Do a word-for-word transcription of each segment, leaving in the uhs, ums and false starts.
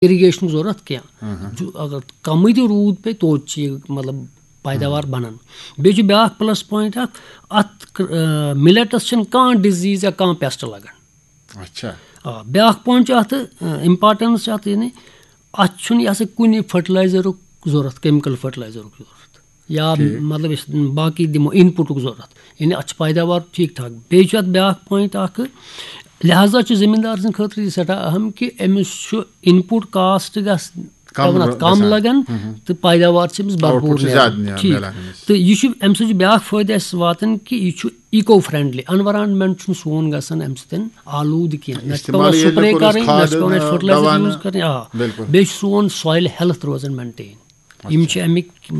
اِرِگیشنُک ضوٚرَتھ کینٛہہ۔ جو اگر کَمٕے تہِ روٗد پیٚیہِ، توتہِ چھِ یہِ، مطلب، پیداوار بَنان۔ بیٚیہِ چھُ بیٛاکھ پٕلَس پویِنٛٹ اَکھ، اَتھ مِلٮ۪ٹَس چھِنہٕ کانٛہہ ڈِزیٖز یا کانٛہہ پیسٹ لَگان۔ اچھا۔ آ، بیٛاکھ پویِنٛٹ چھُ اَتھ، اِمپاٹَنٕس چھِ اَتھ، یعنی اَتھ چھُنہٕ یہِ ہسا کُنہِ فرٹیلایزرُک ضوٚرَتھ، کیمِکَل فرٹیلایزرُک ضوٚرَتھ، یا ٹھیٖک۔ مطلب أسۍ باقٕے دِمو اِن پُٹُک ضوٚرَتھ، یعنی اَتھ چھِ پیداوار ٹھیٖک ٹھاک۔ بیٚیہِ چھُ اَتھ بیٛاکھ پویِنٛٹ اَکھ، لہذا چھُ زٔمیٖندار سٕنٛدِ خٲطرٕ یہِ سٮ۪ٹھاہ اہم کہِ أمِس چھُ اِن پُٹ کاسٹ گژھ کم پٮ۪وان اَتھ رو-، کَم گژھان۔ لَگان، تہٕ پیداوار چھِ أمِس بھرپوٗر آوُٹ پُٹ چھُ نیران۔ زیادٕ نیران، ٹھیٖک۔ میلان أمِس۔ تہٕ یہِ چھُ، اَمہِ سۭتۍ چھُ بیٛاکھ فٲیدٕ اَسہِ واتان کہِ یہِ چھُ ایٖکو فرٛینٛڈلی، اٮ۪نوَرانمٮ۪نٛٹ چھُنہٕ سون گژھان اَمہِ سۭتۍ آلوٗدٕ کینٛہہ، نہ چھِ پٮ۪وان استعمال ییٚلہِ سپرے کوٚر اَسہِ کَرٕنۍ، نہ چھِ کھادَن، پٮ۪وان اَسہِ آ، فرٹیلایزر دَوانہٕ۔ یوٗز کَرٕنۍ۔ آ، بِلکُل۔ بیٚیہِ چھُ سون سویِل ہیلتھ روزان مینٹین۔ یِم چھِ اَمِکۍ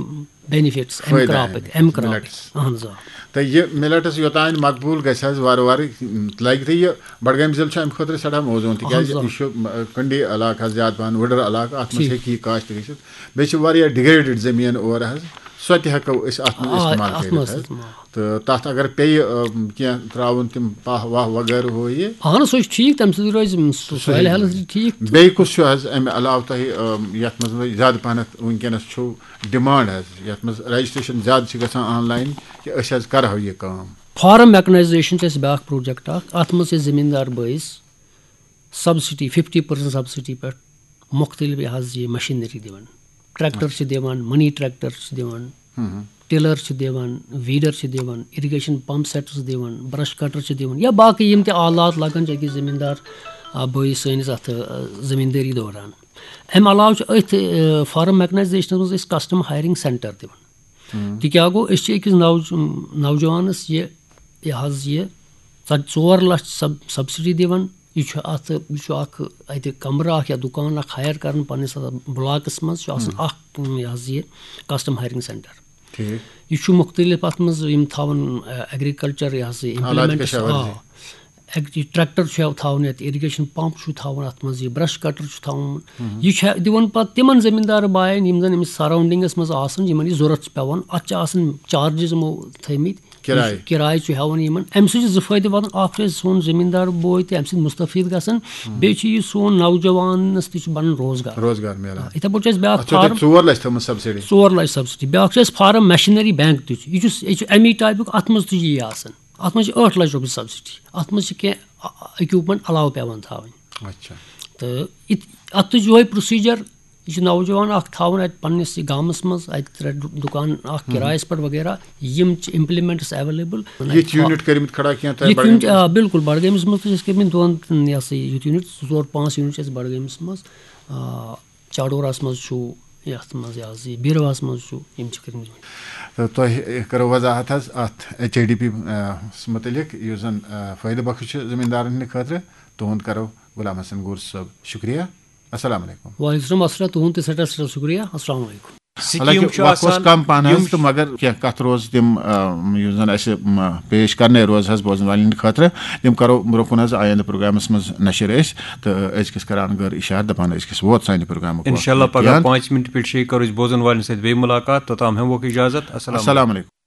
بینِفِٹس اَمہِ فٲیدٕ کراپٕکۍ، اَمِکۍ، اَمہِ کراپٕکۍ۔ مِلٮ۪ٹٕس۔ اَہَن حظ آ۔ تہٕ یہِ مِلٮ۪ٹٕس یوٚتام مقبوٗل گژھِ حظ وارٕ وارٕ، لَگہِ تہٕ یہِ بڈگٲمۍ ضلعہٕ چھُ اَمہِ خٲطرٕ سٮ۪ٹھاہ موزوٗن، تِکیٛازِ اَہَن حظ آ۔ یہِ چھُ، م، کنڈی علاقہٕ حظ زیادٕ پَہَن، وٕڈٕر علاقہٕ، اَتھ منٛز ٹھیٖک۔ ہیٚکہِ یہِ کاشت گٔژھِتھ۔ بیٚیہِ چھِ واریاہ ڈِگریڈڈ زٔمیٖن اورٕ حظ، سۄ تہِ ہٮ۪کو أسۍ اَتھ منٛز آ، استعمال اَتھ کٔرِتھ منٛز حظ۔ استعمال۔ تہٕ تَتھ اگر پیٚیہِ، آ، کینٛہہ ترٛاوُن، تِم پاہ واہ وغٲرٕ ہُہ یہِ۔ اَہَن حظ، سُہ چھُ ٹھیٖک، تَمہِ سۭتۍ روزِ سُہ سویِل ہیلتھ تہِ ٹھیٖک۔ بیٚیہِ کُس چھُ حظ اَمہِ علاوٕ تۄہہِ، آ، یَتھ منٛز وۄنۍ زیادٕ پَہنَتھ وٕنکیٚنَس چھُو ڈِمانڈ حظ، یَتھ منٛز رجسٹریشن زیادٕ چھِ گژھان آن لاین، کہِ أسۍ حظ کَرہو یہِ کٲم؟ فارم میکنائزیشن چھِ اَسہِ بیٛاکھ پروجیکٹ اَکھ، اَتھ منٛز چھِ أسۍ زٔمیٖندار بٲیِس سبسڈی، ففٹی پٔرسنٹ سبسڈی پٮ۪ٹھ مُختٔلِف یہِ حظ یہِ مشیٖنری دِوان۔ ٹریکٹر چھِ دِوان، منی ٹریکٹر چھِ دِوان، ٹِلر چھِ دِوان، ویٖڈر چھِ دِوان، اِرِگیشن پمپ سیٹس دِوان، برش کٹر چھِ دِوان، یا باقٕے یِم تہِ آلات لگان چھِ أکِس زٔمیٖندار، آ، بٲیِس سٲنِس اَتھ، آ، زٔمیٖندٲری دوران۔ اَمہِ علاوٕ چھُ أتھۍ، آ، فارم میکنائزیشنس منٛز أسۍ کسٹم ہایرنگ سینٹر دِوان۔ تہِ کیٛاہ گوٚو، أسۍ چھِ أکِس نوج-، نوجوانس یہِ، یہِ حظ یہِ ژ-، ژور لچھ سب-، سبسڈی دِوان۔ یہِ چھُ اَتھ، یہِ چھُ اَکھ اَتہِ کمرٕ اَکھ یا دُکان اَکھ ہایَر کَران پنٛنِس اَتھ بلاکَس منٛز، چھُ آسان اَکھ، یہِ حظ یہِ کسٹم ہایرنگ سینٹر۔ ٹھیٖک۔ یہِ چھُ مُختٔلِف، اَتھ منٛز یِم تھاوان، اَ، ایگریکلچر، یہِ حظ یہِ حالات implements، کشاورزی۔ آ۔ ایگ-، یہِ ٹریکٹر چھُ تھاوُن یَتھ، اِرِگیشن پمپ چھُ تھاوُن اَتھ منٛز، یہِ برش کٹر چھُ تھاوُن۔ یہِ چھُ دِوان پتہٕ تِمن زٔمیٖندار باین، یِم زن أمِس سراونڈنگس منٛز آسان، یِمن یہِ ضوٚرتھ چھُ پٮ۪وان۔ اَتھ چھِ آسان چارجز یِمو تھٲومٕتۍ۔ کِراے۔ یہِ چھُ، کِراے چھُ ہٮ۪وان یِمن۔ اَمہِ سۭتۍ چھُ زٕ فٲیدٕ واتان، اَکھ چھُ اَسہِ سون زٔمیٖندار بوے تہِ اَمہِ سۭتۍ مُستفید گژھان، بیٚیہِ چھُ یہِ سون نوجوانس تہِ چھُ بنان روزگار۔ روزگار میلان۔ یِتھے پٲٹھۍ چھُ اَسہِ بیٛاکھ اَتھ چھو تۄہہِ فارم۔ ژور لچھ تھٲومٕژ سبسڈی؟ ژور لچھ سبسڈی۔ بیٛاکھ چھُ اَسہِ فارم مشیٖنری بینک تہِ چھُ، یہِ چھُ، یہِ چھُ اَمی ٹایپُک، اَتھ منٛز تہِ چھُ یی آسان۔ اَتھ منٛز چھِ ٲٹھ لچھ رۄپیہِ سبسڈی۔ اَتھ منٛز چھِ کینٛہہ اِکوپمنٹ علاوٕ پٮ۪وان تھاوٕنۍ۔ اچھا۔ تہٕ اِت-، اَتھ تہِ چھُ یِہوٚے پروسیجر۔ یہِ چھُ نوجوان اَکھ تھاوُن اَتہِ پنٛنِس یہِ گامَس منٛز، اَتہِ ترٛےٚ دُ-، دُکان اَکھ کِرایَس پٮ۪ٹھ وغیرہ، یِم چھِ امپلمنٹس ایویلیبل۔ یِتھ یوٗنٹ کٔرمٕتۍ کھڑا کینٛہہ تۄہہِ یِتھ یوٗنٹ، بڈگٲمِس؟ آ، بِلکُل، بڈگٲمِس منٛز تہِ چھِ أسۍ کٔرمٕتۍ دۄن، یہِ ہسا یہِ، یوٗنٹ زٕ ژور پانٛژھ یوٗنٹ چھِ اَسہِ بڈگٲمِس منٛز، آ، چاڈوراہَس منٛز چھُ، یَتھ منٛز یہِ حظ یہِ بیٖرواہَس منٛز چھُ، یِم چھِ کٔرمٕتۍ۔ تہٕ تۄہہِ کَرو وضاحت حظ اَتھ ایچ آئی ڈی پی، آ، مُتعلِق، یُس زَن، آ، فٲیدٕ بخش چھُ زٔمیٖندارَن ہٕنٛدِ خٲطرٕ۔ تُہُنٛد کَرو غلام حسن گوٗر صٲب شُکریہ۔ السلام علیکم۔ وعلیکم السلام، السلام، تُہُنٛد تہِ سٮ۪ٹھاہ سٮ۪ٹھاہ شُکریہ۔ السلام علیکم۔ سِکیٖم حالانکہ چھُ وقت اوس آسان، کم پہن حظ، یِم تہٕ مگر کینٛہہ کتھ روز تِم، آ، یُس زن اسہِ، م، پیش کرنے روز حظ بوزن والٮ۪ن ہٕنٛدِ خٲطرٕ، تِم کرو برونٛہہ کُن حظ آیندٕ پروگرامس منٛز نشر أسۍ۔ تہٕ أزکِس کران گٔر اشارٕ دپان أزکِس ووت سانہِ پروگرامُک وقت۔ انشاءاللہ پگاہ بیان۔ پانٛژِ منٹہِ پٮ۪ٹھ شیٚیہِ کرو أسۍ بوزن والٮ۪ن سۭتۍ بیٚیہِ مُلاقات۔ توٚتام ہٮ۪موکھ اجازت۔ السلام علیکم۔ السلام علیکم۔